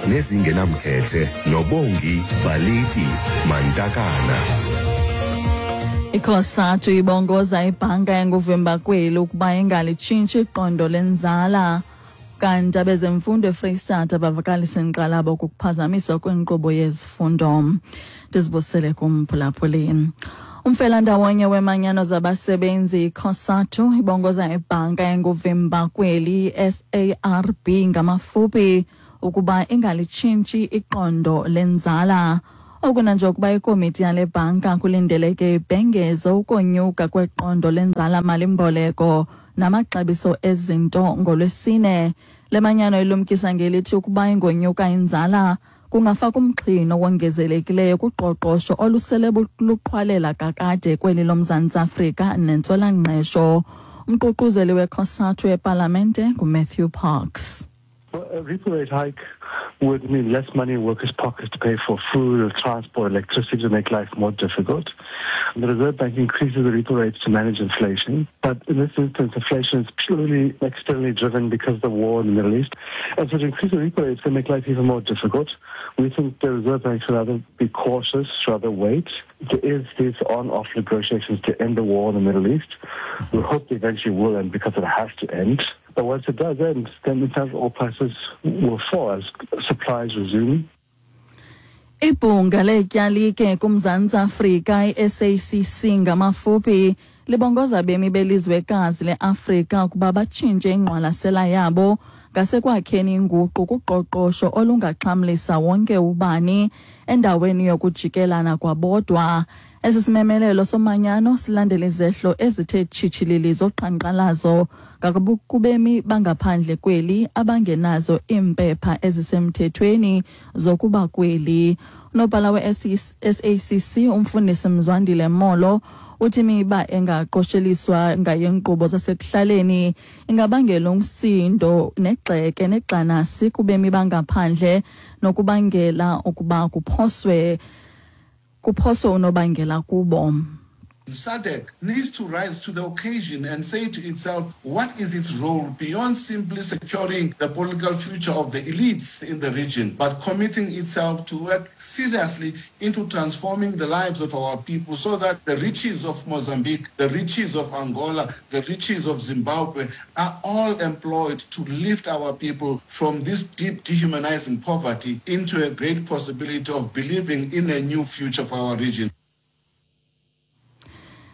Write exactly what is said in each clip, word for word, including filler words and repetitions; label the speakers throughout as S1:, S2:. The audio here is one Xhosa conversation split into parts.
S1: Nezingenamkhethe noBongi Baliti Mantakana.
S2: ICOSATU ibongoza ibhanka enguvimba kweli ukuba ingalitshintshi iqondo lenzala. Kanti abezemfundo eFreyistata bavakalisa inkxalabo kukuphazamiswa kwenkqubo yezifundo. Ndizibusele kumphulaphuli. Umfelandawonye wemanyano zabasebenzi iCOSATU ibongoza ibhanka enguvimba kweli S A R B ngamafuphi ukuba ingalitshintshi iqondo lenzala. Oku nanjengokuba ikomiti yale bhanka kulindeleke ibhengeze ukonyuka kweqondo lenzala malimboleko namaxabiso ezinto ngolwesine. Le manyano ilumkisa ngelithi ukuba ingonyuka inzala kungafaka umxhino wongezelekileyo kuqoqosho olusele luqhwalela kakade kweli loMzantsi Afrika nentswelangqesho. Umququzeli weCOSATU epalamente nguMatthew Parks.
S3: Well, a repo rate hike would mean less money in workers' pockets to pay for food or transport, electricity, to make life more difficult. The Reserve Bank increases the repo rates to manage inflation, but in this instance, inflation is purely externally driven because of the war in the Middle East. And so to increase the repo rates can make life even more difficult. We think the Reserve Bank should rather be cautious, rather wait. There is these on-off negotiations to end the war in the Middle East. We hope they eventually will end because it has to end. But once it does end, then international oil prices will fall as supplies resume.
S2: Ibhunga leetyalike kuMzantsi Afrika i-S A C C ngamafuphi libongoza bemi belizwekazi leAfrika ukuba batshintshe ingqwalasela yabo ngasekwakheni inguqu kuqoqosho olungaxhamlisa wonke ubani endaweni yokujikelana kwabodwa. Esi simemelelo somanyano silandela izehlo ezithe tshitshilili zoqhankqalazo kubemi bangaphandle kweli abangenazo iimpepha ezisemthethweni zokuba kweli. Unobhala we-S A C C umfundisi Mzwandile Molo uthi imiba engaqosheliswa ngayenkqubo zasekuhlaleni ingabangela umsindo negxeke negxanasi kubemi bangaphandle nokubangela ukuba kuphoswe kuphoswe unobangela kubo.
S4: SADC needs to rise to the occasion and say to itself, what is its role beyond simply securing the political future of the elites in the region, but committing itself to work seriously into transforming the lives of our people so that the riches of Mozambique, the riches of Angola, the riches of Zimbabwe are all employed to lift our people from this deep dehumanizing poverty into a great possibility of believing in a new future for our region.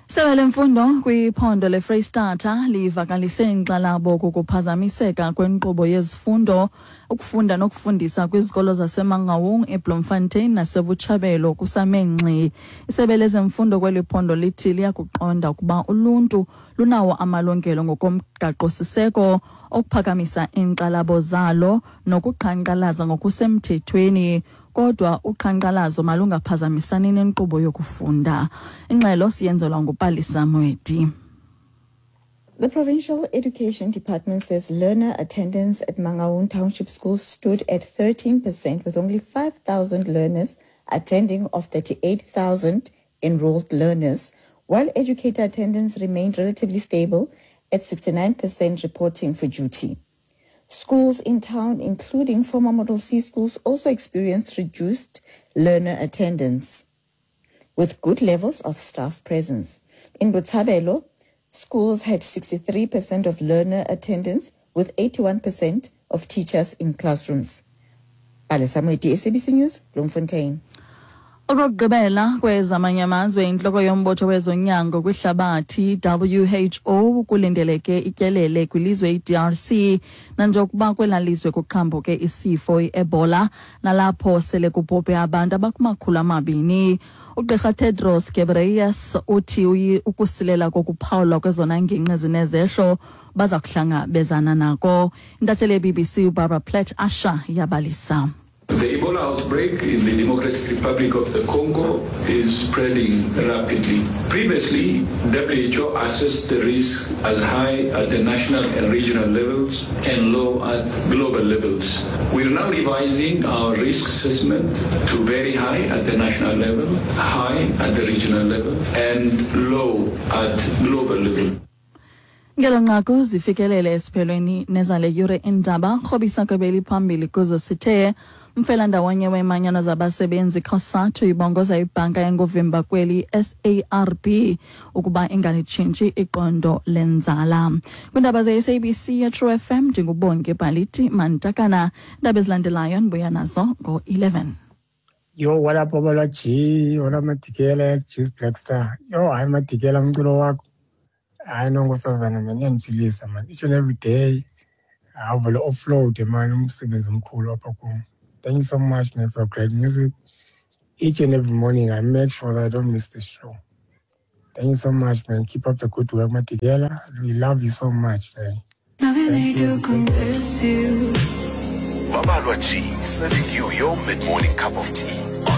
S2: Isebe lemfundo kwiphondo leFreyistata livakalise inkxalabo kukuphazamiseka kwenkqubo yezifundo, ukufunda nokufundisa kwizikolo zaseMangaung, eBloemfontein naseBotshabelo kusame ngxi. Isebe lezemfundo kweli phondo lithi liyakuqonda ukuba uluntu lunawo amalungelo ngokomgaqo-siseko okuphakamisa iinkxalabo zalo nokuqhankqalaza ngokusemthethweni, kodwa uqhankqalazo malungaphazamisani nenkqubo yokufunda. Ingxelo siyenzelwa nguPalisa Mwedi.
S5: The Provincial Education Department says learner attendance at Mangaung Township School stood at thirteen percent, with only five thousand learners attending of thirty-eight thousand enrolled learners, while educator attendance remained relatively stable at sixty-nine percent reporting for duty. Schools in town, including former Model C schools, also experienced reduced learner attendance with good levels of staff presence. In Botshabelo, schools had sixty-three percent of learner attendance with eighty-one percent of teachers in classrooms. Palesa Moeti, S A B C News, Bloemfontein.
S2: Okokugqibela kwezamanye amazwe, intloko yombutho wezonyango kwihlabathi W H O kulindeleke ityelele kwilizwe i-D R C nanjengokuba kwela lizwe kuqhambuke isifo i-Ebola nalapho sele kubhubhe abantu abakumakhulu amabini. Ugqirha Tedros Ghebreyesus uthi ukusilela kokuphawulwa kwezona ngingqi zinezehlo baza kuhlangabezana nako. Intatheli ye-B B C uBarbara Plett Usher yabalisa.
S6: The Ebola outbreak in the Democratic Republic of the Congo is spreading rapidly. Previously, W H O assessed the risk as high at the national and regional levels and low at global levels. We are now revising our risk assessment to very high at the national level, high at the regional level, and low at global level.
S2: Ngelo nqaku zifikelele esiphelweni nezale yure iindaba. Rhobisa kwebeli phambili kuzo sithe Umfelandawonye weemanyano zabasebenzi COSATU ibongoza ibhanka engovimba kweli S A R B ukuba ingalitshintshi iqondo lenzala. Kwiindaba ze-S A B C ye-True F M, ndinguBonke Bhaliti Mantakana. Iindaba ezilandelayo ndibuya nazo ngo-eleven.
S7: Yo, what up, Babalwa G? What up, Madikela? Juice Black Star. Yo, hayi Madikela, umculo wakho. Hayi nonkosazana man, iyandiphilisa man. Each and every day. Awuvele offload man, umsebenzi omkhulu apha kum. Thank you so much, man, for great music. Each and every morning I make sure that I don't miss the show. Thank you so much, man. Keep up the good work, Madikela. We love you so much, man. Thank you.
S1: Babalwa G, serving you your mid-morning cup of tea.